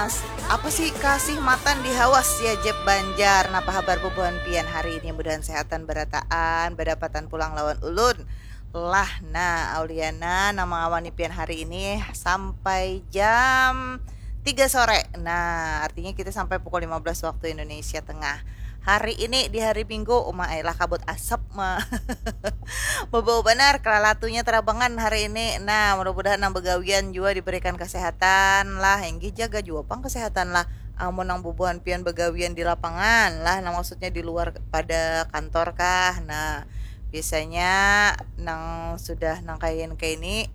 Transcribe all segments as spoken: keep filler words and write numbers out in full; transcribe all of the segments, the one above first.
Apa sih kasih matan di hawas ya Jeb Banjar? Napa habar bubuhan pian hari ini? Mudahan sehatan barataan, badapatan pulang lawan ulun. Lah, nah, Auliana nang mangawani pian hari ini sampai jam tiga sore. Nah, artinya kita sampai pukul lima belas waktu Indonesia Tengah. Hari ini di hari Minggu, uma ai lah kabut asap ma. Bebau banar, kelalatunya terabangan hari ini. Nah, mudah-mudahan nang begawian jua diberikan kesehatan lah. Inggih jaga jua pang kesehatan lah. Amun nang bubuhan pian begawian di lapangan lah, nang maksudnya di luar pada kantor kah. Nah, biasanya nang sudah nang kayan kaini,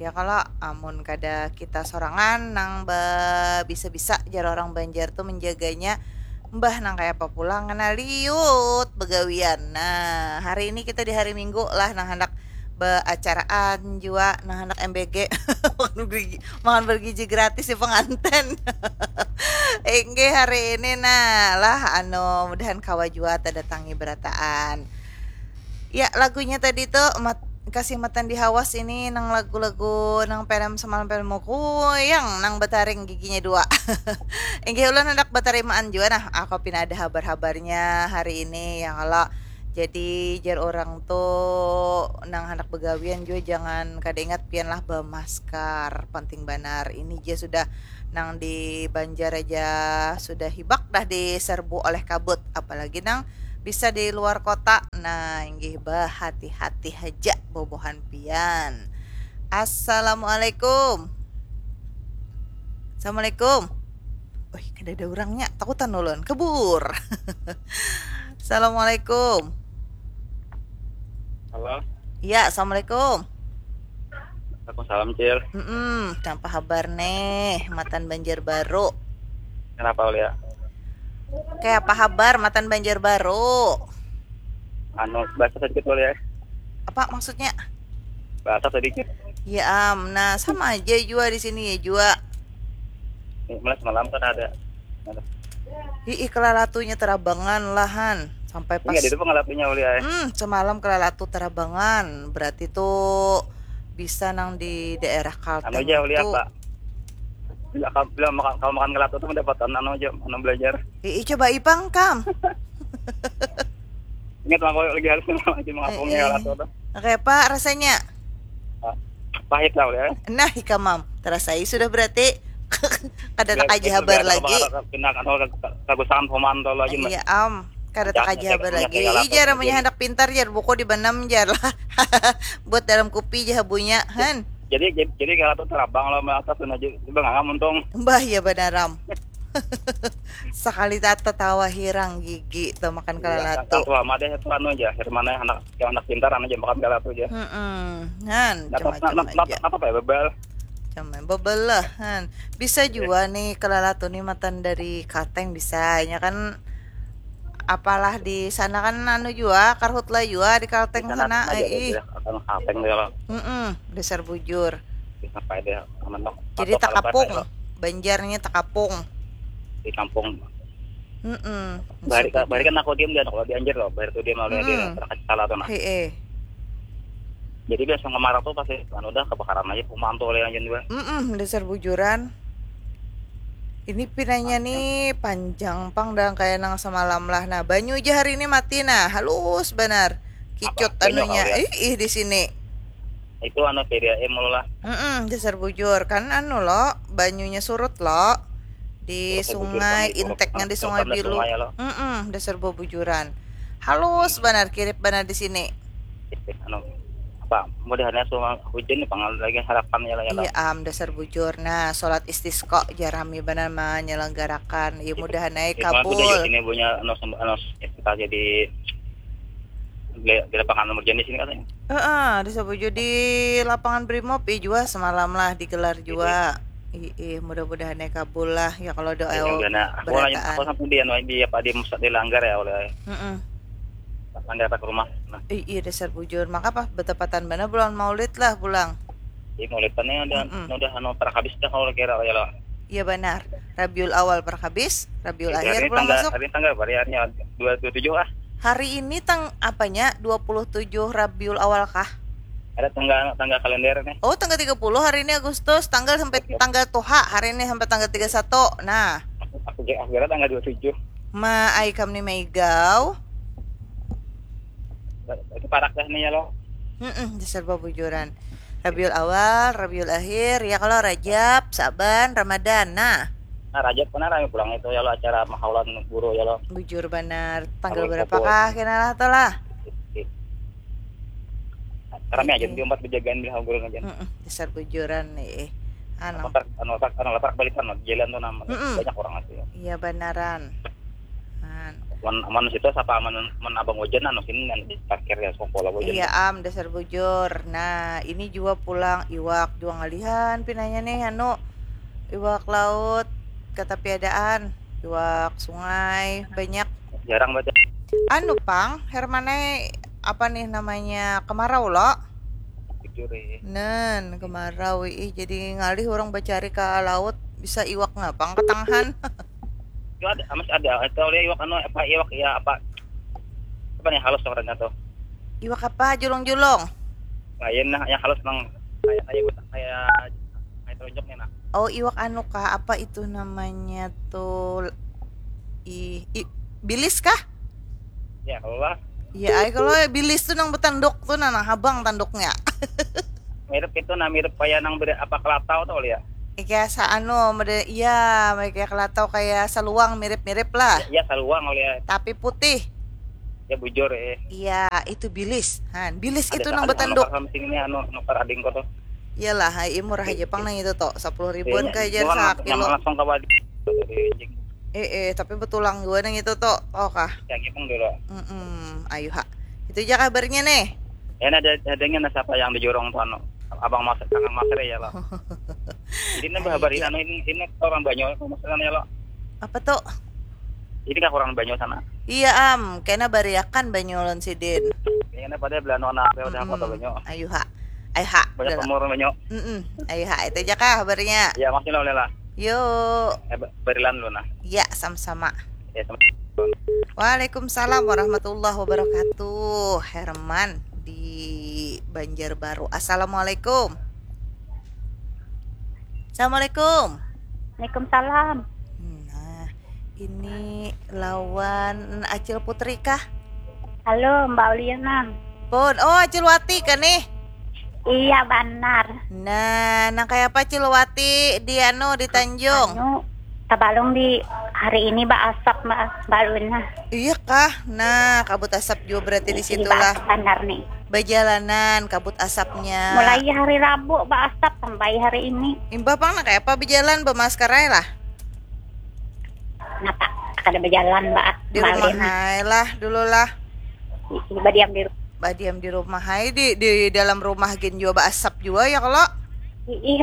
ya kalau amun kada kita sorangan nang ba-, bisa-bisa jar orang Banjar tu menjaganya, mbah nang kaya apa pulang kena liut begawian. Nah, hari ini kita di hari Minggu lah nang handak beacaraan jua, nang handak M B G makan bergi-, makan bergizi gratis di penganten. Inggih hari ini nah lah anu mudahan kawa jua tadatangi berataan. Ya, lagunya tadi tu mat-, kasih matan di hawas ini nang lagu-lagu nang pelem semalam pelem kuyang nang betaring giginya dua. Inggih ulun handak betarimaan jua nah, aku pina ada habar-habarnya hari ini ya kalau. Jadi jar orang tu nang handak begawian jua jangan kada ingat pian lah bemasker, penting banar. Ini ja sudah nang di Banjar aja sudah hibak dah diserbu oleh kabut, apalagi nang bisa di luar kota. Nah, inggih bahati-hati haja bubuhan pian. Assalamualaikum. Assalamualaikum. Wih, kada ada orangnya, takutan ulun. Kabur. Assalamualaikum. Halo. Ya, assalamualaikum. Waalaikumsalam, Cil. Mm-mm, kenapa habar nih? Matan Banjar Baru. Kenapa, Ulia? Kayak apa habar matan Banjar Baru? Anu, bahasa sedikit, Ulia. Apa maksudnya? Bahasa sedikit. Ya am, nah sama aja jua di sini ya jua. Ini mulai semalam kan ada. Ada. Ih, kelalatunya terabangan lahan sampai pas. Ini ada itu pengalatunya, Ulia. Hmm, semalam kelalatu terabangan. Berarti tuh bisa nang di daerah Kalteng Anu aja, Ulia, tuh. Pak. Bila, kalau, bila makan, kalau makan kelatu tuh mendapatkan anu aja, anu belajar. Ih, coba ipang kam. Ingat mah, kalau lagi harus lagi mengapungnya Eh, eh. Kelatu tuh. Oke, apa rasanya? Ah, pahit lah, Ulia. Nah, ikam am, terasai sudah berarti. Kada tak aja Biar- habar biar lagi. Pindah kan, kalau kagusangan pemantau lagi, Mbak. Iya am, kada tak Jahatnya aja kayak habar punya lagi. kayak Ih, laptop jar aja amunnya nih. Handak pintar jar buku di benam jar lah. Buat dalam kupi jar habunya, han. Jadi jadi jadi Kelatu terabang lah, atas pun aja. Coba nggak untung. Mbah, ya banar am. Sekali tata tawa hirang gigi tuh makan Iya, kelalatu. Kelatu sama deh itu anu aja. Mana anak yang anak pintar anu aja makan Kelatu aja. Mm-mm. Han, Napa macam-macam napa aja. Napa ya bebal? Cuman bebelah, han. Bisa jua nih kelalatu nih matan dari Kalteng bisa. Nya kan apalah di sana kan anu jua, karhutla jua di Kalteng Sana sana. Aja Ai, ih. Akan Kalteng deh kalau Mm-mm, dasar bujur. Sampai deh mentok. Jadi takapung. Banjarnya takapung. Di kampung. Mm-mm. Bari bari kan aku diem dia kalau dianjir loh, bari tuh dia mau dia Mm-mm. Terkait salah tuh nah. Hei, eh. Jadi biasa ngemarau tuh pasti kan udah kebakaran aja, pemantu oleh anjing juga. Mm-mm, dasar bujuran. Ini pinanya nih panjang pang dah kayak nang semalam lah. Nah, banyu aja hari ini mati nah, halus banar. Kicut Apa? Banyu Anunya. Kau lihat? Ih, ih di sini. Itu anu P D A M lo lah. Mm-mm, dasar bujur kan anu lo, banyunya surut lo di Dasar bujur sungai, kan, inteknya di kalau Sungai kan ada Bilu. sungai lo. Mm-mm, dasar bubujuran. Halus banar, kirip banar di sini. Anu apa? Mudahannya semua hujan nih, pangal lagi harapan ya lah ya. Iya am, dasar bujur. Nah, sholat istisqa jarami banar menyelenggarakan. Iya, mudahan aja Itu kan aku udah kabul. Ini punya anu sem- anu kita jadi di, di lapangan nomor jenis ini katanya. Heeh, di Sabuju di lapangan Brimob, iya jua semalam lah digelar jua. Ih, ih, mudah-mudahan aja kabul lah ya kalau doa Iya, udah, nah, aku nanya, berataan. Aku sampai di anu di apa di musad dilanggar ya oleh Heeh. langgar ke rumah. Nah, Ih, iya dasar bujur. Maka apa betepatan banar bulan Maulid lah pulang. Di Maulid kan ini udah Mm-mm. Udah anu para habis dah kalau kira ya lo. Iya banar. Rabiul Awal perhabis, Rabiul Jadi Akhir hari pulang tanggal masuk. Hari tanggal hari harinya dua dua tujuh ah. Hari ini tang apanya dua puluh tujuh Rabiul Awal kah? Ada tanggal, tanggal kalender nih. Oh, tanggal tiga puluh hari ini Agustus, tanggal sampai, oke, tanggal tuha hari ini sampai tanggal tiga satu. Nah. Aku ge-, aku kira tanggal dua tujuh. Ma, ai kam ni maigau. Ba-, itu parak dah nih ya lo. Mm-mm, dasar babujuran. Rabiul Awal, Rabiul Akhir, ya kalau Rajab, Saban, Ramadan. Nah. Nah, Rajab kena rame pulang itu ya lo, acara mahaulan guru ya lo. Bujur banar. Tanggal berapa kah kena lah tuh lah? Rame aja di tempat bejagaan bila guru aja. Mm-mm, dasar bujuran nih. Anu. Anu letak, anu letak, anu letak balikan lo, jalan tuh nama. Mm-mm. Banyak orang asli. Iya banaran. Man. Aman, aman situ siapa aman, aman abang wajan anu sini nanti parkir ya sekolah wajan. Iya am, dasar bujur. Nah, ini juga pulang iwak juga ngalihan pinanya nih anu iwak laut kata piadaan, iwak sungai banyak. Jarang baca. Anu pang, Hermanai apa nih namanya kemarau lo? Bujur ya. Nen, kemarau ih jadi ngalih orang bacari ke laut bisa iwak ngapang ketangahan. Itu ada, masih ada. Itu oleh iwak anu apa iwak ya apa apa nih halus tuh katanya tuh. Iwak apa julung-julung? Lain nah yang halus nang kayak kayak kayak kayak telunjuknya nah. Oh iwak anu kah apa itu namanya tuh i, i bilis kah? Ya Allah. Iya, ay, kalau bilis tuh nang betanduk tuh nah, nah habang tanduknya. Mirip itu nah mirip kayak nang beri apa kelatau tuh ya. Kayak sa anu mode iya kayak kelatau kayak saluang mirip-mirip lah. Iya saluang oleh. Tapi putih. Ya bujur eh. Iya itu bilis han bilis ada itu nang anu betanduk. Nukar sama sini anu nukar ading kok tuh. Iyalah hai murah aja pang nang itu tuh sepuluh ribuan iya, kayak aja sakilo langsung ke wadi. Eh eh tapi betulang juga nang itu tuh oh kah. Ya gitu dulu. Mm -mm. Ayo ha itu aja kabarnya nih. Ya ada adanya nah siapa yang dijorong tuh anu abang mas kangen mas ya lo. Jadi ini bahabar ini ini orang banyak maksudnya lo. Apa tuh? Ini kan kurang banyak sana. Iya am, kena bariakan banyak ulun sidin. Ini pada belano anak udah apa tuh banyak. Ayo ha, ayo ha. Banyak pemur banyak. Mm -mm. Ayo ha, itu aja kah kabarnya. Ya masih lah lah. Yuk. Eh, berilan lu nah. Ya sama-sama. Ya sama. Waalaikumsalam warahmatullahi wabarakatuh. Herman di Banjarbaru. Assalamualaikum. Assalamualaikum. Waalaikumsalam. Nah, ini lawan Acil Putri kah? Halo, Mbak Uliana. Pun, oh Acil Wati kah nih? Iya, benar. Nah, nang kayak apa Acil Wati di anu di Tanjung? Anu, tabalung di hari ini ba asap Mbak Uliana. Iya kah? Nah, kabut asap juga berarti di situ lah. Benar nih. Bajalanan kabut asapnya. Mulai hari Rabu ba asap sampai hari ini. Imbah pang nak apa bejalan bemasker aja lah. Napa kada bejalan ba? Di rumah hai lah dulu lah. Badiam di rumah. Badiam di rumah hai di di dalam rumah gin juga ba asap juga ya kalau. Ih,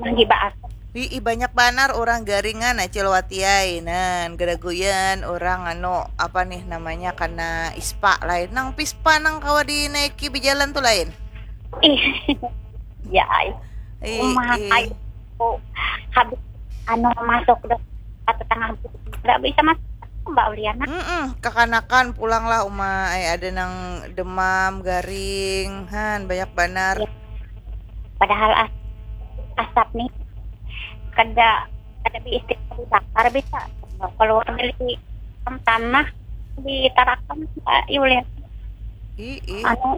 lagi ba asap. Wih, banyak banar orang garingan acil watiai nan geraguyan orang anu apa nih namanya karena ispa lain nang pispa nang kawa dinaiki bejalan tu lain. Ih, ya ai. Ih, rumah ai. Oh, habis anu masuk dah kata tengah tidak bisa masuk Mbak Uliana. Mm -mm, kekanakan pulanglah uma ai ada nang demam garing han banyak banar. Ya. Padahal as asap nih kada kada diistilah dibakar bisa keluar dari tanah ditarakan Mbak Yulian. Ih, ih. Anu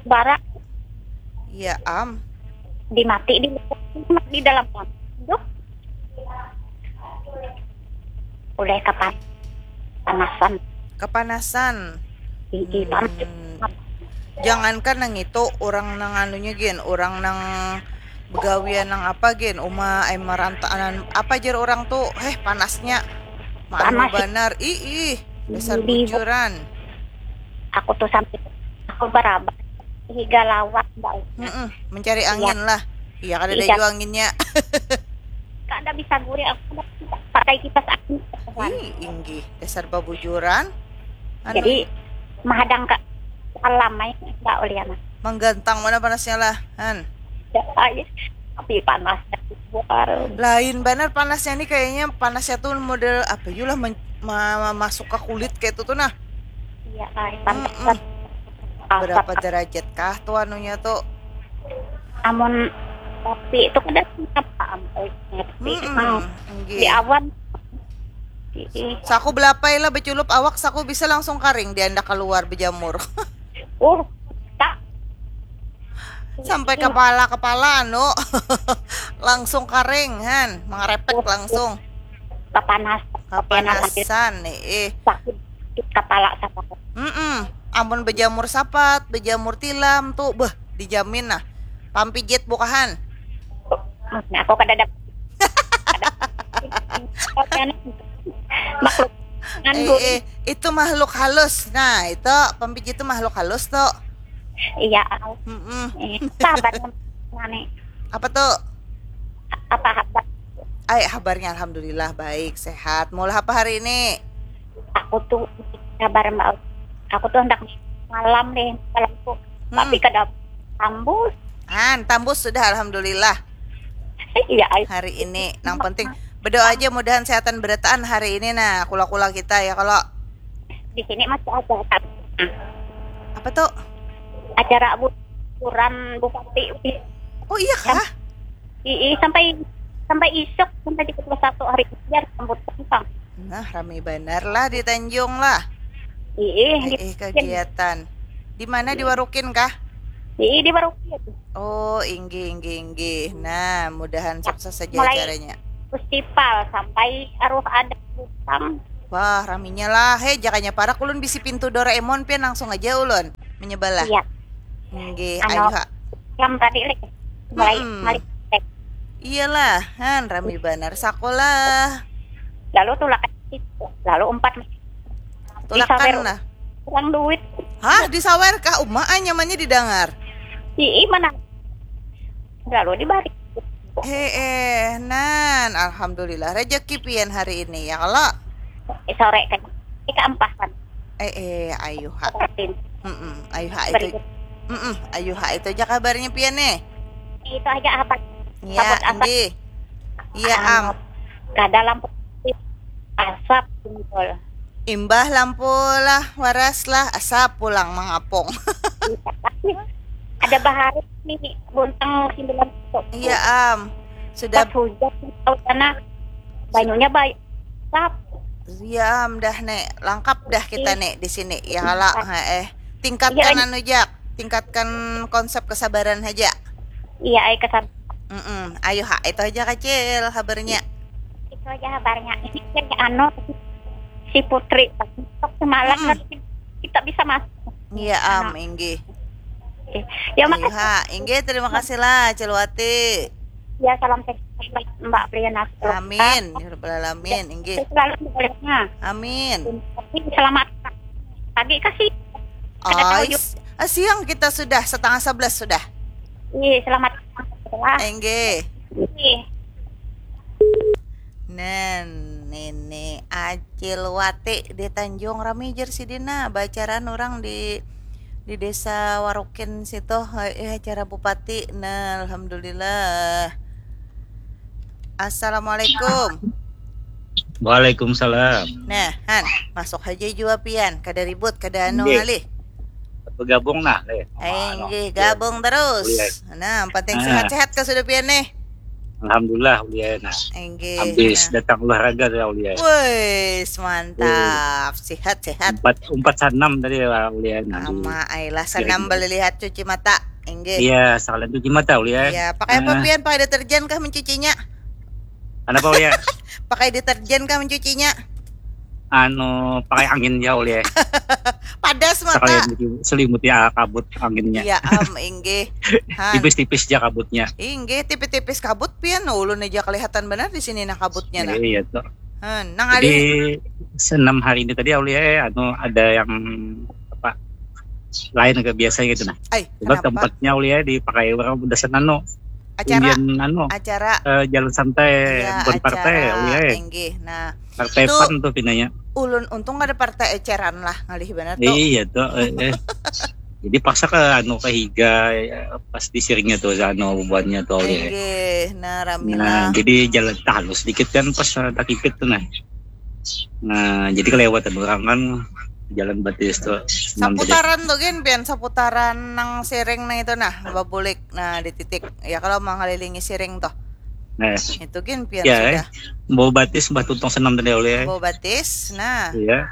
bara. Iya am. Dimati di di dalam tanah. Duh. Udah kapan panasan. Kepanasan. Ih, ih, hmm. Jangankan nang itu orang nang anunya gin orang nang begawian nang apa gin uma ai marantaanan apa jar orang tu heh panasnya maanu banar ih ih dasar bujuran. Aku tu sampai aku barabak higa lawak mbak. Mm-mm, mencari angin lah. Iya kada ada jua anginnya. Kada bisa gurih aku pakai kipas angin. Ih inggih dasar babujuran. Anu. Jadi mahadang ka alam ai nggak oleh anak. Manggantang mana panasnya lah, han. Ya, ai. Tapi panasnya bukan. Lain banar panasnya nih kayaknya panasnya tuh model apa yulah men- ma- ma- masuk ke kulit kayak itu tuh nah. Iya, ai. Panas. Mm-mm. Berapa derajat kah tuh anunya tuh? Amun kopi itu kada apa am, eh, kopi Mm-mm, emang nggih. Di awan. Ii. Saku belapai lah beculup awak, saku bisa langsung karing, dia ndak keluar bejamur. Uh, tak. Sampai kepala-kepala anu langsung karing han, mengerepek langsung. Kepanas. Kepanas. Kepanasan nih. Eh. Sakit kepala sama. Mm-mm. Amun bejamur sapat, bejamur tilam tuh, beh, dijamin nah. Pampijit bukahan. Nah, aku kada dapat. Makhluk Eh, nganggur. Eh, itu makhluk halus. Nah, itu pampijit itu makhluk halus tuh. Iya. Mm-mm. Eh, sabar nani. Apa tuh? Apa apa? Ay, kabarnya alhamdulillah baik, sehat. Maulah apa hari ini? Aku tuh sabar mbak. Aku tuh hendak malam deh malam tuh. Hmm. Tapi kada tambus. Han, tambus sudah alhamdulillah Iya, ay. Hari ini. Nang penting berdoa aja mudahan sehatan berataan hari ini nah, kula-kula kita ya kalau Di sini masih ada apa tuh? Acara bu- bukuran bupati. Oh iya kah? Ii, sampai sampai isuk sampai tiga puluh satu hari biar sambut kentang. Nah, rame benar lah di Tanjung lah. Ii, Eh, eh, kegiatan. Di mana, di Warukin kah? Ii, di Warukin. Oh, inggih, inggih, inggih. Nah, mudahan sukses saja Mulai- acaranya. Festival sampai aruh ada butang. Wah, raminya lah. Hei, jakanya parak ulun bisi pintu Doraemon pian langsung aja ulun menyebelah. Iya. Inggih, Anu, ayo ha. Yang tadi lek mulai Mm-mm. mulai Iyalah, han rami banar sakolah. Lalu tulakan lalu empat Tulakan lah. Kurang duit. Hah, disawer kah? Uma ah, nyamannya didengar. Ii, mana? Lalu dibalik. Hee, nan alhamdulillah rezeki pian hari ini ya kalau. Eh, sore kan. Ika ampahan. Eh, eh, ayo ha. Rutin. Mm-mm, ayo ha itu. Berikut. Mm-mm, ayo ha itu aja kabarnya pian nih. Itu aja apa? Ya, Kabut asap. Inggih. Iya, am. Anu, kada lampu asap timbul. Imbah lampu lah, waras lah, asap pulang mangapung. Ada bahari nih buntang sembilan puluh. Iya, am. Sudah Pas hujan tahu sana banyunya baik. Asap. Iya, am, dah nek lengkap dah kita nek di sini. Ya kalau, heeh. Tingkatkan Iya. Anu jak, tingkatkan konsep kesabaran aja. Iya, ai kesab. Mm-mm. Ayo ha, itu aja kecil kabarnya. Itu aja kabarnya. Ini kan anu si Putri. Besok semalam Mm-mm. kan kita bisa masuk. Iya, am, inggih. Oke. Ya Ayo makasih. ha, inggih, terima kasih lah Cilwati. Ya salam sehat Mbak Briana. Amin, ya rabbal alamin, inggih. Selalu bolehnya. Amin. Selamat pagi kasih. Ada Oh, tahu is- ah, siang kita sudah setengah sebelas sudah. Iya, selamat. Wah, Inggih. iya. Nen, ini Acil Wati di Tanjung, rami jer sidina bacaran orang di di desa Warukin situ, eh, acara bupati. Nah, alhamdulillah. Assalamualaikum. Waalaikumsalam. Nah, Han, masuk aja jua pian, kada ribut, kada anu Nggih. Ngalih. Bergabung nah, leh. Eh, nggih, gabung terus. Nah, yang penting Ah. Sehat-sehat kah sudah pian nih? Alhamdulillah, Uliana. Inggih. Habis Nah. Datang olahraga ya, Uliana. Wes, mantap. Sehat-sehat. Empat empat sanam tadi ya, Uliana. Ama ailah sanam Iya. Balilihat cuci mata. Inggih. Iya, sekalian cuci mata, Uliana. Iya, pakai apa Ah. pian? Pakai deterjen kah mencucinya? Kenapa, Uliana? Pakai deterjen kah mencucinya? Anu, pakai angin ya, Uliana. Padas mata. Sekalian cuci, selimuti ah, kabut anginnya. Iya, am, inggih. Han. Tipis-tipis aja kabutnya. Inggih, tipis-tipis kabut pian. Ulun aja kelihatan benar di sini nah kabutnya nah. Iya, tuh. Han, nang Jadi alih. Senam hari ini tadi, Uliana, anu ada yang apa, lain agak biasa gitu nah. Ay, Cuma kenapa? Tempatnya, Uliana, dipakai orang udah senano. Acara Indian anu, acara eh, jalan santai, Iya, bukan partai, acara Uliana. Inggih. Nah, Partai Tuh. Pan tuh pinanya. Ulun untung ada partai eceran lah, ngalih benar tuh. Iya tuh. Eh, eh. Jadi paksa ke anu, ke higa ya, pas disiringnya tuh, anu bubuhannya tuh, Uliana. Inggih, nah rami Nah, lah. Jadi jalan halus sedikit kan pas ada kikit tuh nah. Nah, jadi kelewatan orang kan jalan batis tuh. Saputaran tu gin pian, saputaran nang siring nang itu nah, babulik nah di titik ya, kalau mangalilingi siring tuh. Nah, itu gin pian ya, sudah. Bawa batis, bawa tuntung senam tadi oleh. Bawa batis, nah. Iya.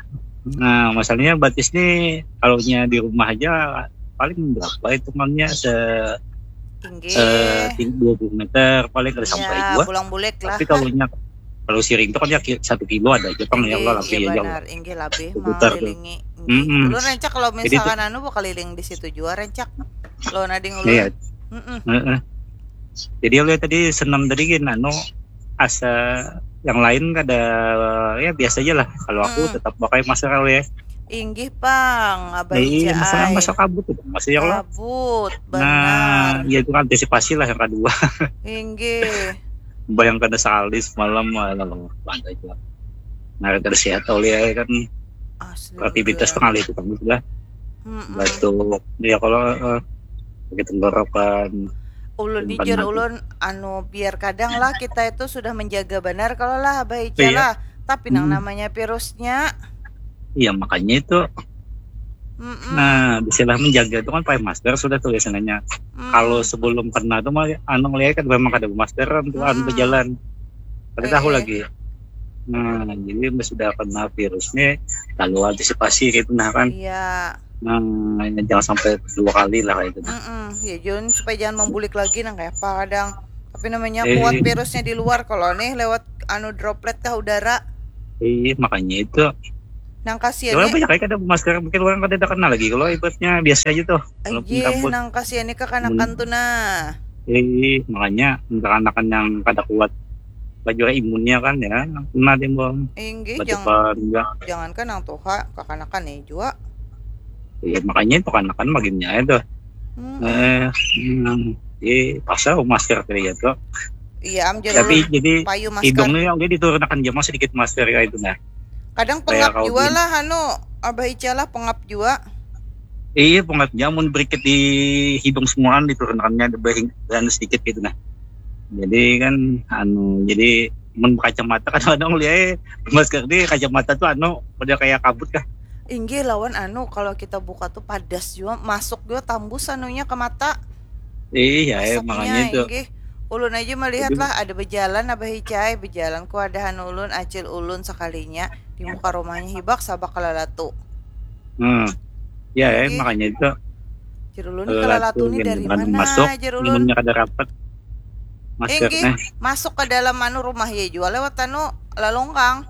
Nah, masalahnya batis nih kalau nya di rumah aja paling berapa hitungannya se Inggih. Eh, dua puluh meter paling kada sampai ya, dua. Pulang bulik lah. Tapi kalau nya kalau siring itu kan ya satu kilo ada aja pang ya Allah, lebih aja lah. Inggih, lebih mengelilingi. Mm -mm. Ulun rancak kalau misalkan anu keliling di situ juga rancak. Lo nading ulun. Iya. Mm -mm. Uh -uh. Jadi oleh tadi senam tadi gini anu asa yang lain kada ya biasa aja lah. Kalau aku mm -mm. tetap pakai masker oleh. Inggih pang, abah Iya, masalah masalah kabut tuh, masih ya Allah. Kabut, benar. Nah, ya itu kan antisipasi lah yang kedua. Inggih. Bayangkan sekali semalam malam lantai juga. Nah, terus ya tahu ya kan. Asli. Kreativitas tengah itu kan sudah. Mm -mm. Batuk. Ya kalau uh, eh, tenggorokan. Ulun jujur ulun anu biar kadang lah kita itu sudah menjaga benar kalau lah abah Ica iya. Lah. Tapi hmm. Nang namanya virusnya Iya makanya itu. Mm-mm. Nah, istilah menjaga itu kan pakai masker sudah tuh biasanya. Mm. Kalau sebelum kena tuh mah anu ngeliat kan memang ada masker kan tuh mm. Anu berjalan. Ada eh. Tahu lagi. Nah, jadi sudah kena virus nih lalu antisipasi gitu nah kan. Iya. Nah, jangan sampai dua kali lah kayak gitu. Mm-mm. Ya, jangan supaya jangan membulik lagi nang kayak apa kadang. Tapi namanya eh. Kuat virusnya di luar kalau nih lewat anu droplet ke udara. Iya, makanya itu. Nang kasihan nih. Banyak kayak ada masker mungkin orang kada kena lagi kalau ibaratnya biasa aja tuh. Iya, nang kasihan nih kekanakan hmm. Tuh nah. Iya, makanya kekanakan yang kada kuat baju imunnya kan ya kena timbul. Inggih, jangan, jangan kan nang tuha, kekanakan nih juga. Iya, makanya itu kekanakan makinnya itu. Hmm. Eh, hmm, eh, pasal masker kali ya tuh. Iya, am jadi tapi jadi payu masker. Hidungnya yang dia diturunakan jama sedikit masker kayak itu nah. Kadang pengap juga lah anu Abah Ica lah pengap juga. Iya pengap jamun berikit di hidung semuaan diturunakannya ada dan sedikit gitu nah. Jadi kan anu jadi mun kacamata kadang-kadang lihat masker di kacamata tuh anu udah kayak kabut kah. Inggih lawan anu kalau kita buka tuh padas juga masuk juga tambus anunya ke mata. Iya, ya, makanya itu. Inggih. Ulun aja melihat lah ada berjalan abah icai berjalan ku ada anu ulun acil ulun sekalinya di muka rumahnya hibak sabak kalalatu. Hmm. Ya, ya makanya itu. Jerulun kalalatu ini dari mana masuk, jerulunnya kada rapat. Inggih, masuk ke dalam anu rumah ya juga lewat anu lalongkang.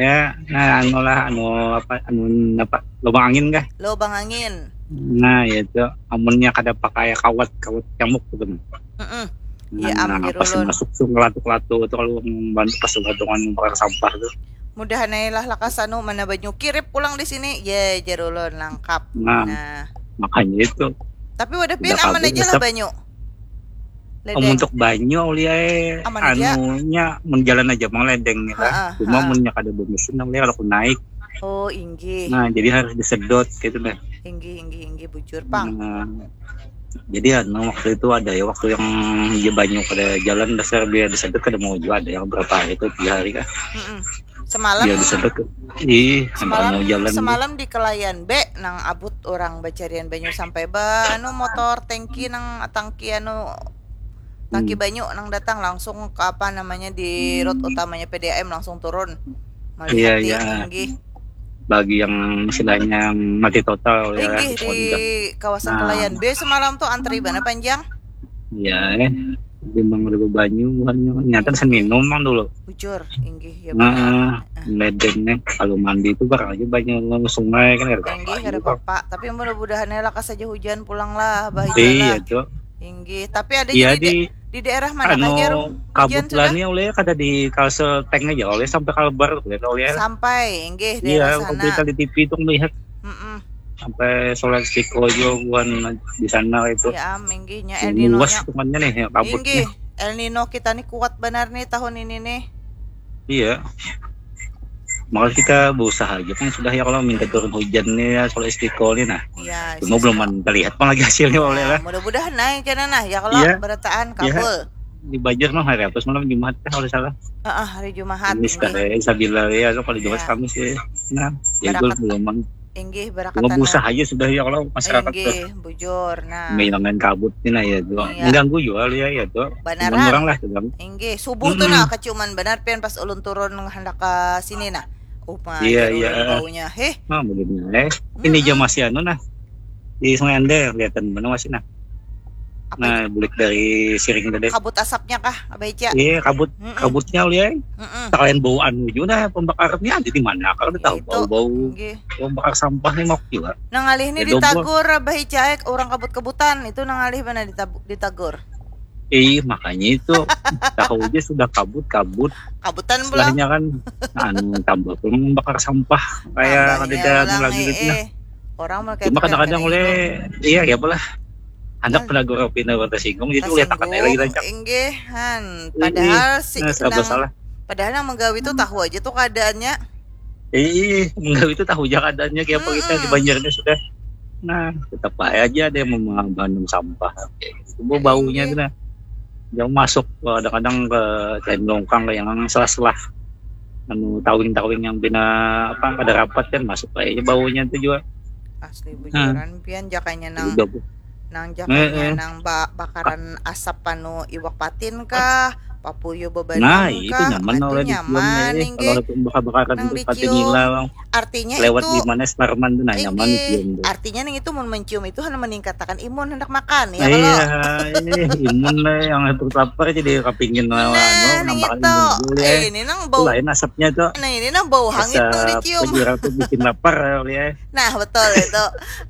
Ya, nah anu lah anu apa anu apa lubang angin kah? Lubang angin. Nah, ya itu amunnya kada pakai kawat kawat nyamuk gitu. Heeh. Nah, ya, nah, pas masuk tuh ngelatuk-latuk itu kalau membantu pas dengan bakar sampah tuh. Mudahan aja lah lakas anu mana banyu kirip pulang di sini. Ya, jerulun lengkap. Nah, nah. Makanya itu. Tapi wadah pian aman aja lah banyu. Ledeng. Untuk banyu uliai anunya menjalan aja mang ledeng nih lah. Cuma munnya kada bermesin uliai kalau naik. Oh inggih. Nah jadi harus disedot gitu deh. Inggih inggih inggih bujur pang. Nah, jadi anu waktu itu ada ya waktu yang di banyu kada jalan dasar biar disedot kada mau juga ada yang berapa hari itu tiga hari kah. Mm -mm. Semalam. Iya disedot. Ih, semalam jalan. Semalam di kelayan B nang abut orang bacarian banyu sampai ba anu motor tangki nang tangki anu tangki hmm. Banyu nang datang langsung ke apa namanya di road utamanya P D A M langsung turun. Melihat iya, iya. Tinggi. Bagi yang istilahnya mati total ya. Tinggi di kawasan nah. Kelayan B semalam tuh antri bana panjang. Iya, eh. Di Mang Ribu Banyu, bukan nyata sen minum mang dulu. Bujur, inggih ya. Nah, ledengnya kalau mandi itu barang aja banyak sungai kan ada. Inggih, ada apa. Tapi mudah-mudahan ya lakas saja hujan pulang lah, bah. Iya, tuh. Inggih, tapi ada iya, jadi di, di daerah mana anu, aja rum? Kabut lah nih oleh kada di Kalsel Tank aja oleh sampai Kalbar oleh. Sampai, inggih, daerah iya, sana. Berita di T V itu melihat. Mm -mm. Sampai sholat istiqo juga bukan di sana itu. Ya, minggihnya El Nino. Luas hitungannya nih, ya, kabutnya. Minggih, El Nino kita nih kuat benar nih tahun ini nih. Iya. Maka kita berusaha aja kan sudah ya kalau minta turun hujan nih ya kalau istiqo nih nah. Iya. Cuma belum terlihat pun lagi hasilnya ya, oleh lah. Mudah-mudahan naik ya nah ya kalau ya. Berataan ya. Kabul. Di Banjar mah hari apa semalam Jumat kan kalau salah. Heeh, uh, uh, hari Jumat. Ini sekarang sabila ya kalau Jumat ya. Kamis ya. Nah, ya itu belum. Inggih, berakatan. Cuma busa aja sudah ya kalau masyarakat tuh. Inggih, bujur. Nah. Menghilangkan kabut ini ya tuh. Iya. Mengganggu juga ya ya tuh. Benar. Orang lah tuh. Inggih, subuh tuh nah keciuman benar pian pas ulun turun hendak ke sini nah. Uma, iya, iya. Baunya. Heh. Nah, begini. Eh, ini jam masih anu nah. Di Sungai Andai kelihatan mana masih nah. Nah, bulik dari siring tadi. Kabut asapnya kah, Abah Ica? Iya, kabut, kabutnya liai. Sekalian bau anu juga dah pembakarnya, jadi mana kalau tahu bau-bau pembakar sampah nih mau juga. Nang alih ini ditagur Abah Ica, eh, orang kabut-kebutan itu nang alih mana ditagur? Eh, makanya itu tahu aja sudah kabut-kabut. Kabutan pulang. Istilahnya kan anu tambah pun membakar sampah kayak ada lagi gitu nah. Orang mau kayak cuma kadang-kadang oleh iya ya apalah. Anak penagur pina tersinggung jadi ulihat akan lagi rancak. Inggih han. Padahal si nah, nang, salah. Padahal yang menggawi itu tahu aja tuh keadaannya. Ih, menggawi itu tahu aja keadaannya kayak apa kita di Banjarnya sudah. Nah, tetap aja ada yang membanum sampah. Itu baunya tuh nah. Yang masuk kadang-kadang ke kain longkang kayak yang selah-selah anu tawing-tawing yang bina apa pada rapat kan masuk kayaknya baunya tuh juga. Asli bujuran pian jakanya nang nang jakanya eh, eh. Nang ba bakaran asap panu iwak patin kah, papuyu bebanang nah, itu kah, nyaman itu nyaman eh. Kalau bakar-bakaran nang dicium. Artinya lewat itu di mana Sparman tuh nah, nyaman dicium. Artinya nang itu mun mencium itu hanya meningkatakan imun hendak makan ya kalau. Iya, imun lah yang lapar jadi kepingin nah, nambah imun dulu ya. Eh, ini nang bau. Lain asapnya tuh. Nah, ini nang bau hangit nang dicium. Penjara tuh bikin lapar ya. Nah, betul itu.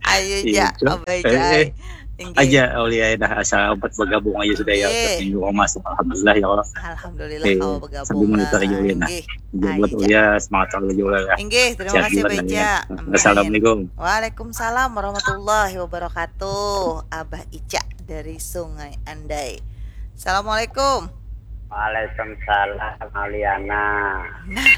Ayo ja, abai ja. Inggih. Aja Aulia dah asal obat bergabung aja sudah ya. Minggu masuk alhamdulillah ya Allah. Alhamdulillah eh, kau bergabung lah. Inggih. Buat Aulia semangat selalu juga ya. Inggih, terima kasih Beca. Assalamualaikum. Waalaikumsalam warahmatullahi wabarakatuh. Abah Ica dari Sungai Andai. Assalamualaikum. Waalaikumsalam Auliana. Nah,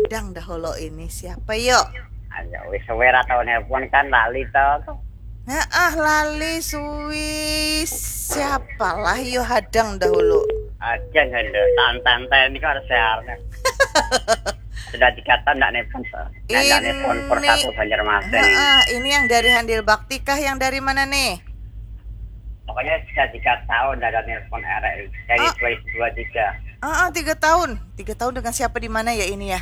dang dahulu ini siapa yo? Ayo wis suwe ra tau nelpon kan lali to. Nah, ah lali suwi siapalah yo hadang dahulu. Aja ada tantan ini kan harus seharnya. Sudah tiga tahun ndak nelpon. Ndak nelpon per satu Banjarmasin. Heeh, ini yang dari Handil Bakti kah yang dari mana nih? Pokoknya sudah tiga tahun ndak ada nelpon R R I dari dua ribu dua tiga. Ah, ah, tiga tahun. Tiga tahun dengan siapa di mana ya ini ya?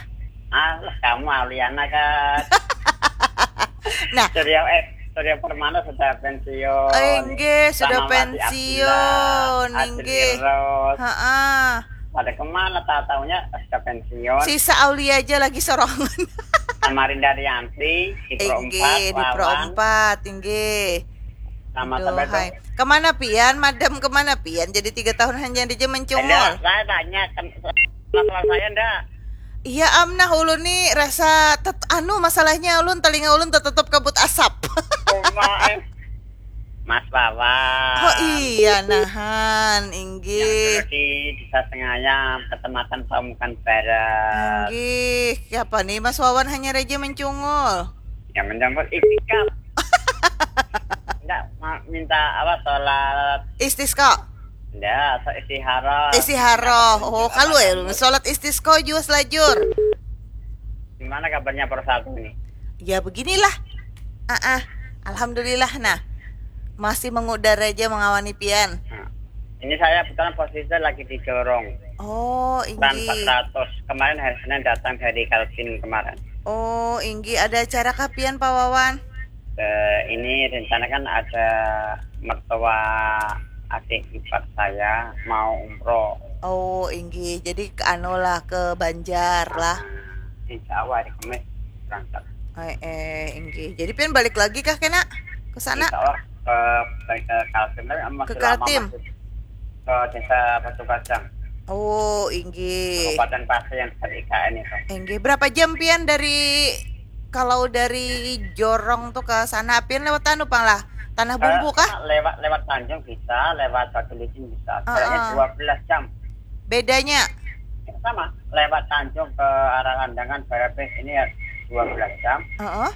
Ah, kamu Aliana kan. Nah. Surya eh Surya Permana sudah pensiun. Enggak, sudah pensiun. Enggak. Heeh. Pada kemana tak tahunya sudah pensiun. Sisa Aulia aja lagi sorongan. Samarinda Rianti di Pro empat. Di Pro empat, enggak. Nama sampai kemana pian, madam kemana pian? Jadi tiga tahun hanya di mencungul. Saya tanya masalah saya ndak. Iya am nah ulun nih rasa tet, anu masalahnya ulun telinga ulun tetep kabut asap. Mas Wawan. Oh iya nahan, inggih. Yang di Desa Sengayam, Kecamatan Pamukan Barat. Inggih, siapa nih Mas Wawan hanya raja mencungul? Yang mencungul itikaf. Enggak, minta apa sholat istisqa. Enggak, sholat istiharoh. Istiharoh. Oh, kalau ya sholat istisqa juga selajur. Gimana kabarnya persatu ini? Ya beginilah. Ah, ah. Alhamdulillah nah. Masih mengudara aja mengawani pian. Nah, ini saya kebetulan posisi lagi di Jorong. Oh, inggih. Empat ratus. Kemarin hari Senin datang dari Kalkin kemarin. Oh, inggih. Ada acara kah pian Pak Wawan? Eh, ini rencana kan ada mertua adik ipar saya mau umroh. Oh, inggih. Jadi anu lah ke Banjar lah. Insya Allah hari Kamis berangkat. Eh, eh inggih. Jadi pian balik lagi kah kena ke sana? Insya Allah ke ke Kaltim tapi masih ke Kaltim. Masih ke desa Batu Kacang. Oh, inggih. Kabupaten Pasir yang dekat I K N itu. Inggih. Berapa jam pian dari kalau dari Jorong tuh ke sana pian lewat anu pang lah? Tanah eh, Bumbu kah? Lewat lewat Tanjung bisa, lewat Batu Licin bisa. Kayaknya uh -uh. dua belas jam. Bedanya? Sama, lewat Tanjung ke arah Landangan, Barabeh ini ya dua belas jam. Uh -uh.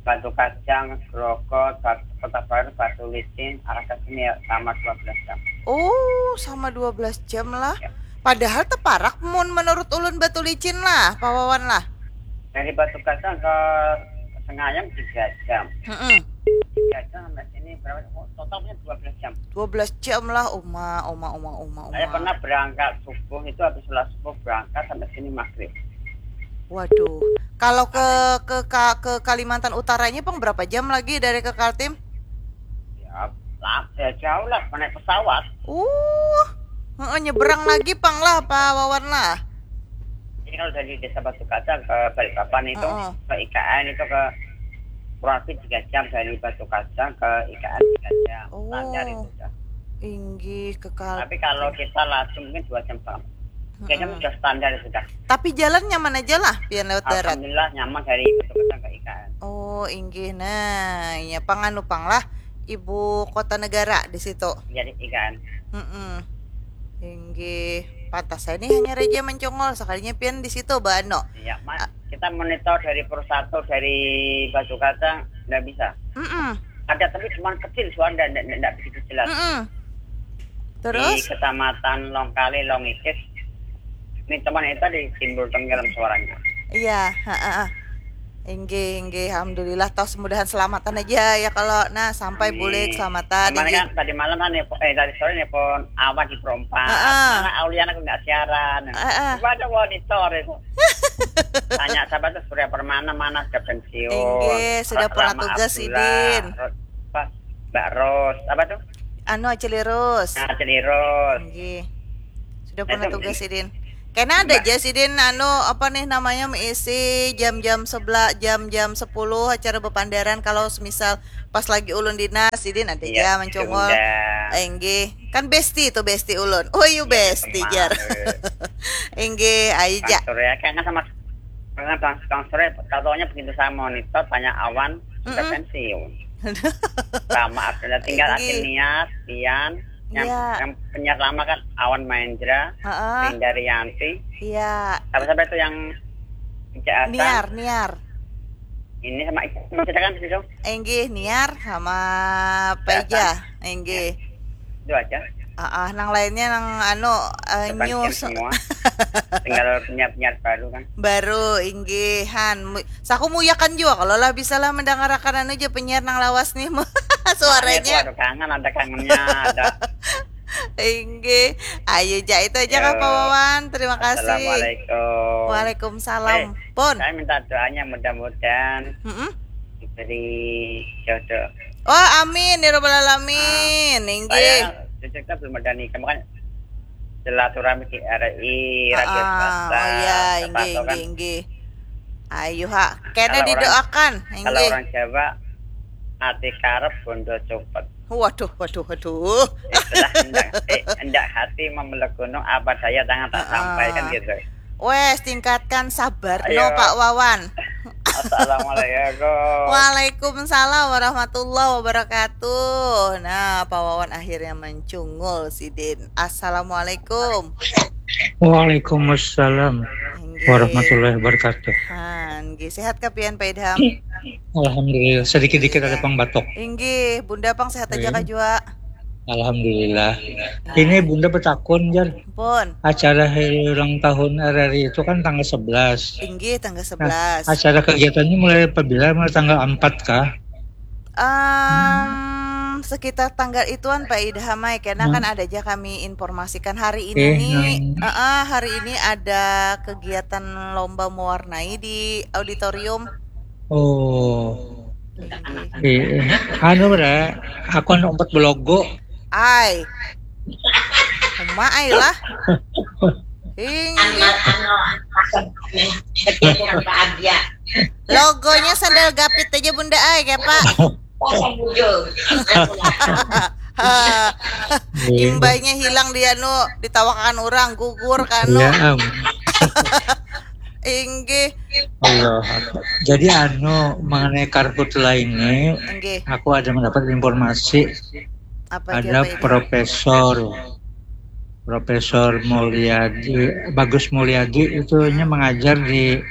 Batu Kacang, Grogol, Kota Baru, Batu Licin, arah ke sini ya sama dua belas jam. Oh, sama dua belas jam lah. Ya. Padahal teparak mun menurut ulun Batu Licin lah, Pak Wawan lah. Dari Batu Kacang ke Tengah ayam tiga jam. Heeh. Tiga jam sampai sini berapa? Oh, totalnya dua belas jam. Dua belas jam lah, uma, uma, uma, uma, uma. Saya pernah berangkat subuh itu, habis sholat subuh berangkat sampai sini maghrib. Waduh. Kalau ke ke Ka- ke Kalimantan Utaranya pang berapa jam lagi dari ke Kaltim? Ya, lah, ya jauh lah, naik pesawat. Uh, heeh, nyeberang lagi pang lah, Pak Wawan lah. Jadi kalau dari Desa Batu Kaca ke Balikpapan itu, Heeh. ke I K N itu ke kurang lebih tiga jam, dari Batu Kaca ke I K N tiga jam. Oh. Standar itu udah. Inggih, ke Kaltim. Tapi kalau kita laju mungkin dua jam setengah. Tiga jam Heeh. Sudah standar itu dah. Tapi jalan nyaman aja lah, pian lewat darat. Alhamdulillah nyaman dari Batu Kaca ke I K N. Oh, inggih. Nah, iya pang anu pang lah, ibu kota negara di situ. Jadi I K N. Heeh. Inggih. Pantas saya nih hanya raja mencongol, sekalinya pian di situ, Bano. Iya, Mas. Kita monitor dari Persatu, dari Batu Kaca, nggak bisa. Heeh. Ada, tapi cuma kecil suara, nggak, nggak, nggak begitu jelas. Heeh. Di Terus? Kecamatan Longkali, Longikis, ini teman kita ditimbulkan dalam suaranya. Iya, heeh. Inggih, inggih, alhamdulillah, toh semudahan selamatan aja ya kalau nah sampai Amin. Bulik selamatan. Kemarin Inggih. Kan tadi malam kan nelpon, eh tadi sore nelpon Awan di Perompak. Heeh. Mana Auliana aku nggak siaran. Heeh. Coba ada monitor itu. Tanya siapa tuh, Surya Permana, mana sudah pensiun. Inggih, sudah Ra- pernah Rama tugas, Abdullah, Sidin. Ro- apa, Mbak Ros, apa tuh? Anu, Acil Lirus. Nah, Acil Lirus. Inggih. Sudah Nah, pernah itu tugas, mungkin Sidin. Kena ada Mbak. Aja, Sidin, anu, apa nih namanya, mengisi jam-jam sebelah, jam-jam sepuluh acara bepandaran, kalau semisal pas lagi ulun dinas, Sidin ada Iya, aja mencongol. diundang. Inggih. Kan bestie itu, bestie ulun. Oh, iya, Iya, bestie, teman. Jar. Inggih, ayo, Ja. Bang Surya, kan sama dengan Bang, Bang Surya, taunya begitu saya monitor, tanya Awan, sudah Mm-mm. pensiun. Sama Abdullah, tinggal Inggih. Akin Nias, Pian, yang, Iya. Yang penyiar lama kan Awan Mahendra, Heeh. Linda Rianti, Iya. apa sampai itu yang Ija Hasan, Niar, Niar. Ini sama itu, masih ada kan di situ? Inggih, Niar sama Peja. Inggih. Itu aja. Ah, ah, nang lainnya nang anu, eh, Depan news semua. Tinggal penyiar-penyiar baru kan. Baru, inggih, han. Mu- Saku muyakan jua kalau lah bisa lah mendangarakan anu ja penyiar nang lawas nih. Suaranya. Aduh, kangen, ada kangennya, ada. Inggih. Ayo, Ja, itu aja kah, Yo. Pak Wawan. Terima kasih. Assalamualaikum. Waalaikumsalam. Eh, Pun. Saya minta doanya, mudah-mudahan Mm-mm. diberi jodoh. Oh, amin ya rabbal alamin. Inggih. Saya jujur kan belum ada nikah, makanya silaturahmi di R I, radio Ah, swasta, oh iya, siapa inggih, tahu kan. Inggih, inggih. Ayo, ha. Kena Kalau orang didoakan, Kalau inggih. Orang Jawa, hati karep bondo cupet. Waduh, waduh, waduh. Istilah hendak, eh, hendak hati memeluk gunung, apa daya tangan tak Ah, sampai kan ah. Gitu. Wes, tingkatkan sabar Ayo. No, Pak Wawan. Assalamualaikum. Waalaikumsalam warahmatullahi wabarakatuh. Nah, Pak Wawan akhirnya mencungul, Sidin. Assalamualaikum. Waalaikumsalam Inggih. Warahmatullahi wabarakatuh. Han, nggih, sehat kah pian, Pak Idham? Alhamdulillah, sedikit-dikit ada pang batuk. Inggih, Bunda pang sehat aja Iya. kah jua? Alhamdulillah. Ini Bunda betakun, Jar. Pun. Acara hari ulang tahun R R I itu kan tanggal sebelas. Inggih, tanggal sebelas. Acara kegiatannya mulai apabila? Mulai tanggal empat kah? Em, sekitar tanggal ituan, Pak Idham ai, karena Hmm. kan ada aja kami informasikan hari ini Eh, nih. hmm. Eh, eh, hari ini ada kegiatan lomba mewarnai di auditorium. Oh. Eh, anu, Bra, aku anu empat belogo. Ai. Uma ai lah. Inggih. Anu, anu, anu, bahagia. Logonya sandal gapit aja, Bunda ai, kayak Pak. Pasang bujur. Iya. Imbahnya hilang dia nu ditawakan orang, gugur kanu. Ya, am. Inggih. Allah Akbar. Jadi anu, mengenai karhutlah ini, Inggih. Aku ada mendapat informasi Apa ada siapa itu? Profesor Profesor Mulyadi, Bagus Mulyadi, itunya mengajar di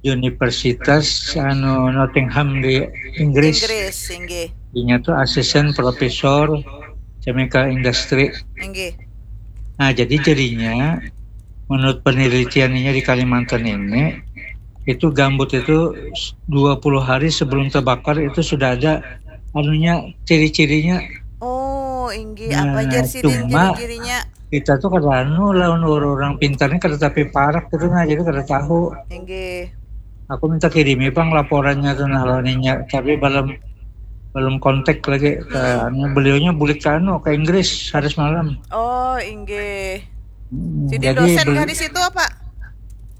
Universitas anu Nottingham di Inggris. Inggris, inggih. Dinya tuh asisten profesor chemical industry. Inggih. Nah, jadi jadinya menurut penelitiannya di Kalimantan ini, Itu gambut itu dua puluh hari sebelum terbakar itu sudah ada anunya, ciri-cirinya. Oh, inggih, apa Nah, jar sidin cuma ciri-cirinya? Kita tuh kada anu lawan orang pintar ni, kada tapi parak gitu nah, jadi kada tahu. Inggih. Aku minta kirimi pang laporannya tuh nah lawan inya, tapi belum belum kontak lagi ke Hmm. anu, beliaunya bulik ke anu, ke Inggris hari semalam. Oh, inggih. Hmm, Sidin jadi dosen beli- kah di situ apa?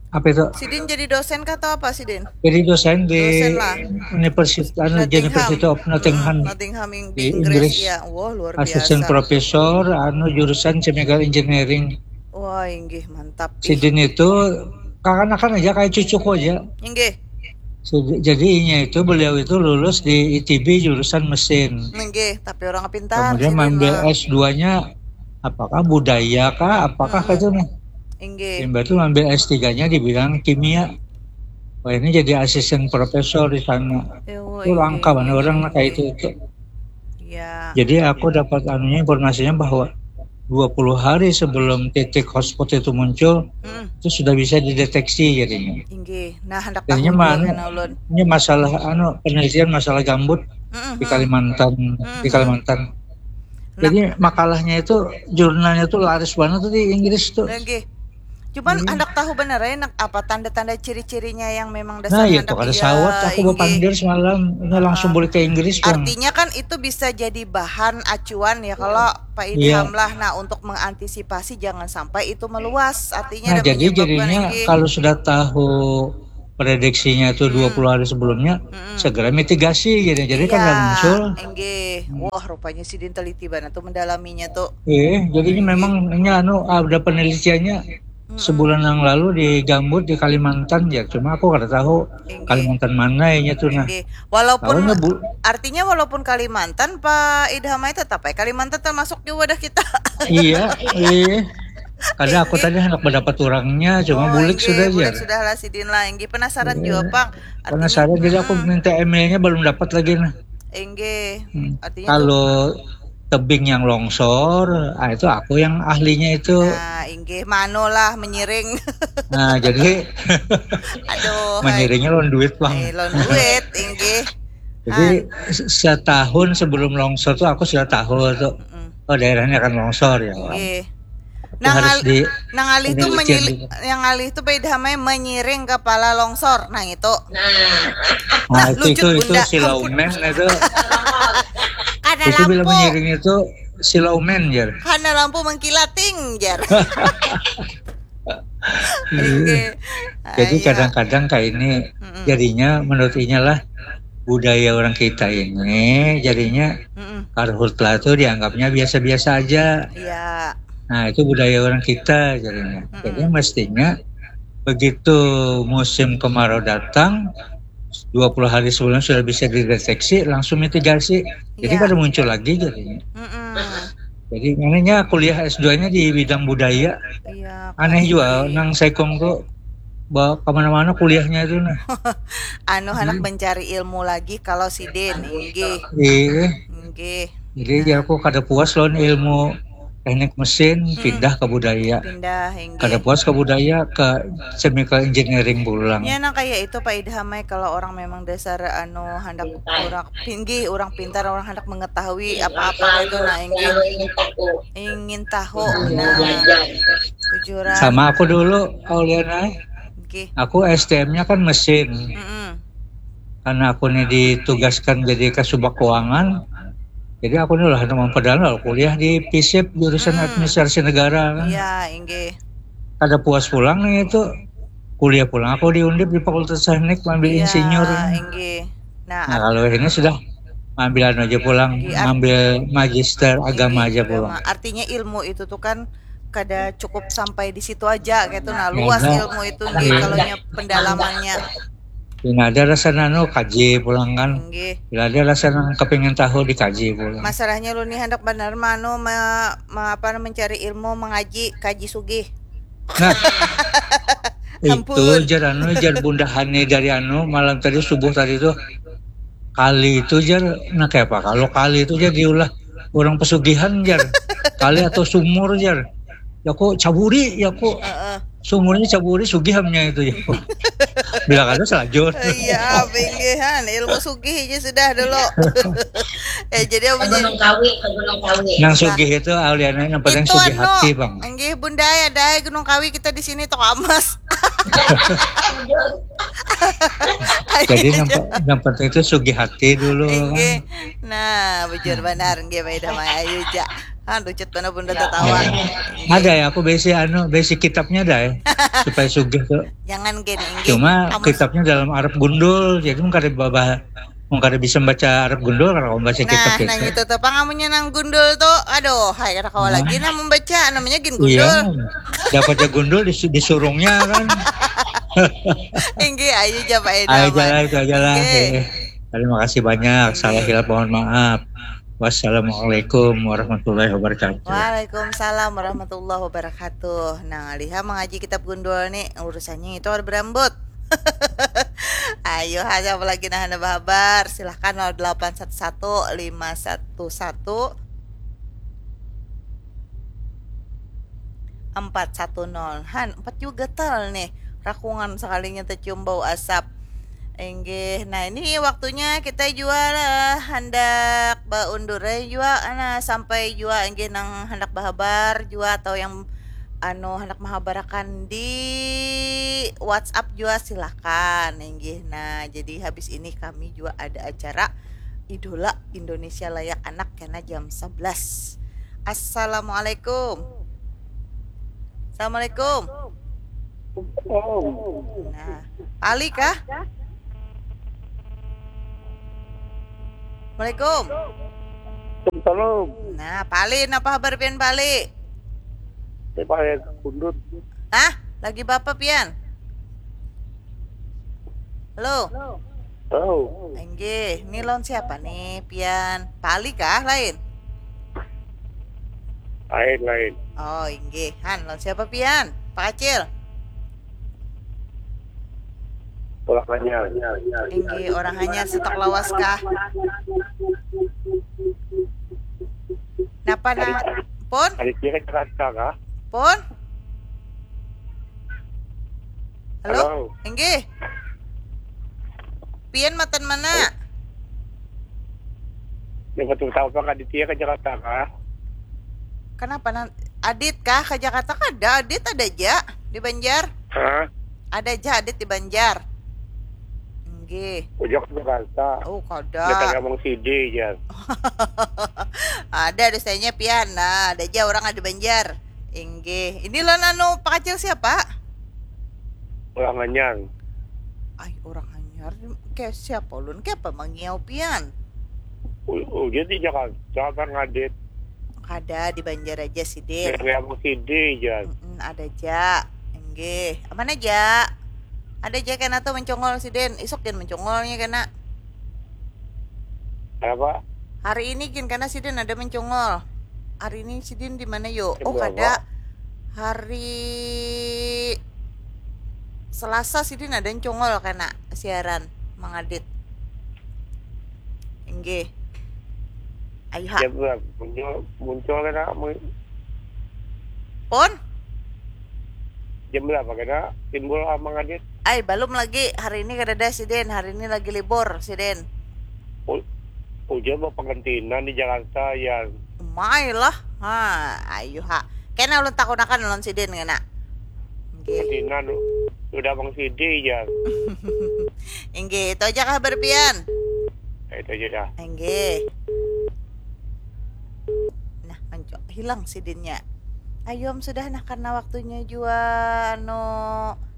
Apa itu? Sidin jadi dosen kah atau apa sidin? Jadi dosen di Dosen lah. Universitas anu, Nottingham. University of Nottingham. Hmm, Nottingham ing- di Di Inggris, Inggris. Ya. Wah, luar Assistant biasa. Professor anu jurusan chemical engineering. Wah, inggih, mantap. Ih, Sidin itu kakanakan aja, kayak cucuku aja. Inggih. Jadi, jadi inya itu, beliau itu lulus di I T B jurusan mesin. Inggih, tapi orang pintar Kemudian sidin mengambil lah. S dua-nya apakah budaya kah, apakah Hmm. itu nih. Inggih. Imbah itu mengambil S tiga-nya di bidang kimia. Wah, ini jadi asisten profesor di sana. Ewa, Itu langka inggih, mana inggih, orang inggih. Kayak itu, itu. Ya. Jadi aku dapat anunya, informasinya bahwa dua puluh hari sebelum titik hotspot itu muncul, Mm-mm. itu sudah bisa dideteksi jadinya. Inggih. Nah, hendak Jadinya tahu mana? Juga kan ulun. Ini masalah anu, penelitian masalah gambut Mm-mm, di mm. Kalimantan, di Mm-mm. Kalimantan. Nah. Jadi makalahnya itu, jurnalnya itu laris banget tuh di Inggris tuh. Inggih. Cuman Iya. Hendak tahu bener ya, nak, apa tanda-tanda ciri-cirinya yang memang dasar Nah, ya hendak tuh kada iya, sawat aku inggih. Bapandir semalam. Ini langsung Ah, balik ke Inggris, Bang. Artinya kan itu bisa jadi bahan acuan ya kalau Pak Iya. Idham lah. Nah, untuk mengantisipasi jangan sampai itu meluas. Artinya Nah, ada jadi menyebabkan jadinya inggih. Kalau sudah tahu prediksinya itu Hmm. dua puluh hari sebelumnya, Mm-mm. segera mitigasi gitu. Jadi kan Iya, nggak muncul. Inggih. Hmm. Wah, rupanya sidin teliti banget tuh mendalaminya tuh. Eh, jadinya Inggih. Memang ini anu, ada penelitiannya Mm-mm. sebulan yang lalu di Gambut di Kalimantan ya, cuma aku kada tahu Inggih. Kalimantan mana ya tuh nah. Inggih. Walaupun Tahunya bu, artinya walaupun Kalimantan, Pak Idham ai tetap ai Kalimantan termasuk di wadah kita. Iya, iya. Kada aku Inggih. Tadi hendak mendapat orangnya, cuma Oh, bulik inggih, sudah bulik aja. Sudah lah sidin lah, inggih, penasaran Iya. Juga pang. Artinya, Penasaran, jadi aku mm-mm. Minta emailnya belum dapat lagi nah. Inggih. Hmm. Artinya Kalau tebing yang longsor, ah, itu aku yang ahlinya itu. Nah, inggih, mano lah menyiring. Nah, jadi Aduh, hai. Menyiringnya lawan duit, Bang. Eh, lawan duit, inggih. Jadi Han. se- setahun sebelum longsor tuh aku sudah tahu tuh, Mm-mm. Oh, daerahnya akan longsor ya. Inggih. Itu Nang harus al- di Nang alih tuh penelitian menyili, dulu. Yang alih tuh beda mai menyiring kepala longsor. Nah, itu. Nah, Lah, itu lucut itu itu bunda. si Ampun. Laumen itu. Karena Itu bila lampu. Menyiring itu si Laumen, jar. Karena lampu mengkilat, ting, jar. Iya. Inggih. Jadi Iya. Kadang-kadang kayak ini Mm-mm. Jadinya menurut inya lah, budaya orang kita ini jadinya Mm-mm. Karhutla tuh dianggapnya biasa-biasa aja. Iya. Nah, itu budaya orang kita jadinya. Jadi Mm-mm. Mestinya begitu musim kemarau datang, dua puluh hari sebelumnya sudah bisa dideteksi, langsung mitigasi. Jadi Iya. Kada muncul lagi jadinya. Mm-mm. Jadi makanya kuliah S dua-nya di bidang budaya. Iya, Aneh juga keren. Nang Saikong tuh bawa kemana-mana kuliahnya itu nah. Anu, hendak Hmm. Mencari ilmu lagi kalau sidin, inggih. Iya. Inggih. Jadi aku kada puas lawan ilmu teknik mesin, Mm-mm. Pindah ke budaya. Pindah, inggih. Kada puas ke budaya, ke chemical engineering pulang. Ya, nah, kayak itu, Pak Idham ai, kalau orang memang dasar anu hendak orang pinggih, orang pintar, orang hendak mengetahui apa-apa itu, nah, inggih. Ingin tahu. Nah, tujuran. Sama aku dulu, Auliana. Inggih. Aku S T M-nya kan mesin. Mm-mm. Karena aku ini ditugaskan jadi kasubag keuangan, jadi aku ini lah memang padahal kuliah di PISIP jurusan Hmm. Administrasi Negara kan. Iya, inggih. Kada puas pulang nih itu, kuliah pulang aku di Undip di Fakultas Teknik, ambil Iya, insinyur. Inggih. Nah, Nah, kalau ini sudah ambil anu aja pulang, Di art- ambil magister agama Inggih, aja agama. Pulang. Artinya ilmu itu tuh kan kada cukup sampai di situ aja gitu. Nah, Ya, luas ada. Ilmu itu, inggih, Iya. Kalau nya pendalamannya. Bila ada rasa nanu, kaji pulang kan. Inggih. Bila ada rasa nang kepingin tahu, dikaji pulang. Masalahnya lu nih hendak benar manu me, me, apa, mencari ilmu, mengaji, kaji sugih. Nah, itu Ampun. Jar anu, Jar Bunda Hani dari anu malam tadi, subuh tadi tuh, kali itu Jar, nah kayak apa kalau kali itu Jar diulah orang pesugihan Jar, kali atau sumur Jar, ya kok caburi ya kok. Heeh. Sumurnya caburi, sugih amnya itu ya. Bila kada selajur. Iya, pinggihan ilmu sugih aja sudah dulu. Ya, jadi apa Ke Gunung Kawi, ke Gunung Kawi. Yang sugih itu Aliana yang penting Itu sugih anu, hati, Bang. Inggih, Bunda, ya, dai Gunung Kawi kita di sini toko amas. Jadi yang, yang penting itu sugih hati dulu. Inggih. Nah, bujur banar, inggih, Pak Ida Maya, ayu ja. Ah, lucut banar Bunda tatawa. Ada ya, aku besi anu, besi kitabnya ada ya, supaya sugih tuh. Jangan gini, inggih. Cuma Kamus. Kitabnya dalam Arab gundul, jadi mun kada babah, mun kada bisa membaca Arab gundul, kada kawa membaca kitab Nah, nah itu. Itu tuh, pang amunnya nang gundul tuh, aduh, hai, kada kawa Nah. Lagi nah membaca, namanya gin gundul. Iya, dapat aja gundul dis- disurungnya kan. Inggih, ayu ja, Pak Ida Ayo Maya. jalan, ayo jalan. Inggih. Eh, Terima kasih banyak. Salah hilap, mohon maaf. Wassalamualaikum warahmatullahi wabarakatuh. Waalaikumsalam warahmatullahi wabarakatuh. Nah, liha mengaji kitab gundul nih, urusannya itu ada berambut. Ayo, ada apa lagi nah, ada bahabar? Silahkan nol delapan satu satu lima satu satu empat satu nol. Han, empat juga tal nih. Rakungan sekalinya tercium bau asap. Inggih. Nah, ini waktunya kita jua lah hendak baundur jua, nah, sampai jua inggih nang hendak bahabar jua atau yang anu hendak mahabarakan di WhatsApp jua silakan inggih. Nah, jadi habis ini kami jua ada acara Idola Indonesia Layak Anak kena jam sebelas. Assalamualaikum. Assalamualaikum. Nah, Pali kah? Assalamualaikum. Salam. Nah, Pali, napa habar pian, Pali? Ini pakai kundut. Hah? Lagi bapa pian? Halo? Oh, Inggih, ini lawan siapa nih, pian? Pali kah lain? lain lain. Oh, inggih. Han, lawan siapa pian? Pak Acil? Orang hanya. Inggih, orang hanyar stok lawas kah? Napa na? Pun? Adiknya kan Jakarta kah? Pun? Halo? Halo. Inggih. Pian matan mana? Yang betul tahu apa Aditya ke Jakarta kah? Kenapa nan Adit kah ke Jakarta? Kada, Adit ada aja di Banjar. Hah? Ada aja Adit di Banjar. Inggih. Ujak ke Jakarta. Oh, Datang kada. Abang Sidi ya. Ada dosanya pian. Nah, ada aja orang ada Banjar. Inggih. Ini lo nanu Pak Acil siapa? Orang hanyar. Ay, orang hanyar. Kayak siapa ulun? Kayak apa mangiau pian? U- Udah di Jakarta apa ngadit? Kada di Banjar aja sidin. Dari Abang Sidi ya. Mm-mm, ada ja. Inggih. Aman aja. Ada ja kena tuh mencongol sidin. Isuk jangan mencongolnya kena. Apa? Hari ini gin kena sidin ada mencongol. Hari ini sidin di mana yo? Jam Oh, berapa? Kada. Hari Selasa sidin ada mencongol kena siaran mengadit. Inggih. Ayo ha. Jam berapa? Muncul muncul kena mu- Pun? Jam berapa kena timbul sama ngadit? Ay, balum lagi. Hari ini kadada sidin. Hari ini lagi libur sidin. U- Ujar mau pengentinan di Jakarta ya. Umai lah. Ha, ayo ha. Kena ulun takunakan ulun sidin kena. Inggih. Pengentinan udah Abang Sidi ya. Inggih, itu aja kabar pian. Ya, itu aja dah. Inggih. Nah, manco- hilang sidinnya. Ayom sudah nah karena waktunya jua anu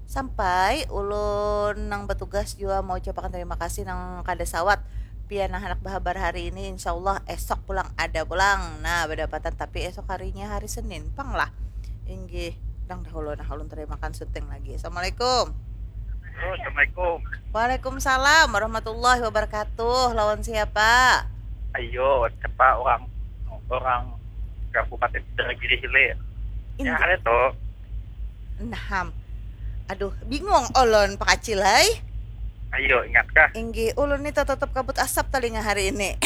sampai ulun nang batugas jua mau ucapakan terima kasih nang kada sawat pian nang handak bahabar hari ini insyaallah esok pulang ada pulang nah badapatan tapi esok harinya hari Senin pang lah inggih dang dahulu nah ulun tarimakan syuting lagi assalamualaikum. Halo, assalamualaikum. Waalaikumsalam warahmatullahi wabarakatuh lawan siapa? Ayo, siapa orang orang Kabupaten Indragiri Hilir? Ya Indra- ada tuh. Naham. Aduh, bingung ulun Pak Acil hai. Ayo, ingatkah? Inggih, ulun ni tatatup kabut asap talinga hari ini.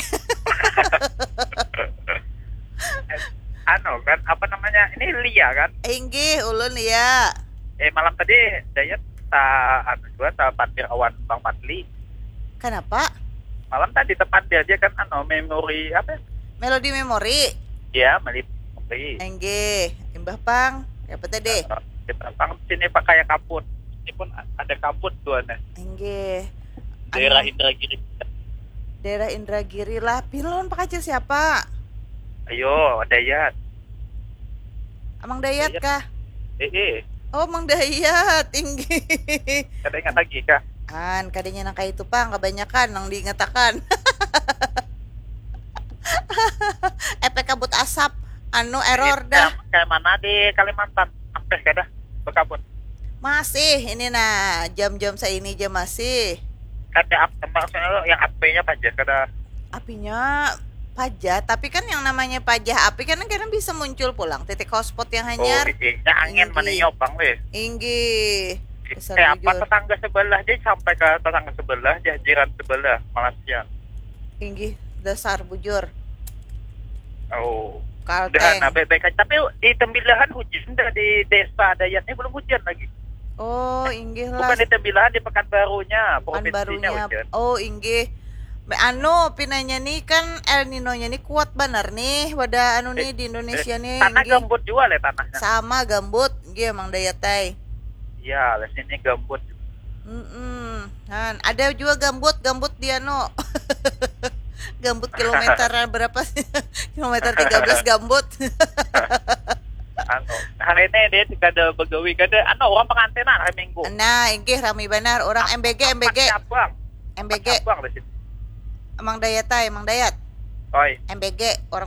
Anu kan, apa namanya? Ini Lia kan? Inggih, ulun ya. Eh, malam tadi Dayat ta anu jua, tapandir awan Bang Fadli. Kanapa? Malam tadi tapandir ja kan, anu, memori apa? Melodi memori. Ya, memori. Enggih, imbah pang. Apa tadi? Kita pang sini pakai kabut. Ini pun ada kabut tuh, aneh. Enggih. Daerah Anu, Indragiri. Daerah Indragiri lah. Pin lawan Pak Acil siapa? Ayo, Dayat. Amang Dayat Dayat. Kah? Eh, eh. Oh, Mang Dayat, tinggi. Kada ingat lagi kah? An, kadanya nang kayak itu pang, kebanyakan nang diingatakan. Efek kabut asap, anu, error dah. Kayak, kayak mana di Kalimantan? Ampeh kada berkabut. Masih ini nah, jam-jam saini jam masih. Kada apa maksudnya lo, yang apenya paja kada. Apinya paja, tapi kan yang namanya paja api kan kadang bisa muncul pulang titik hotspot yang hanyar. Oh, iya, angin Tinggi. Maninyobang deh. Inggih. Dasar Eh, apa bujur. Tetangga sebelah aja, sampai ke tetangga sebelah, jajiran sebelah, Malaysia. Inggih, dasar bujur. Oh. Kalteng. Dah, nah, baik-baik aja. Tapi di Tembilahan hujan dah, di desa Dayat ini belum hujan lagi. Oh, inggih lah. Bukan di Tembilahan, di Pekanbarunya, provinsinya Pekanbarunya. Hujan. Oh, inggih. Me- Anu, pinanya nih kan El Nino-nya nih kuat banar nih, wadah anu nih di Indonesia nih. Tanah Inggih. Gambut juga lah tanahnya. Sama gambut, inggih Mang Dayat ai. Iya, lah sini gambut. Mm-mm. Han, ada juga gambut, gambut di anu. Gambut kilometer berapa sih? Kilometer tiga belas gambut. Anu, hari ini dia kada begawi, kada, anu, orang pengantinan hari Minggu. Nah, inggih rami banar orang M B G, M B G. Empat cabang. M B G. Cabang di sini. Mang Dayat ai, Mang Dayat. Oi. M B G, orang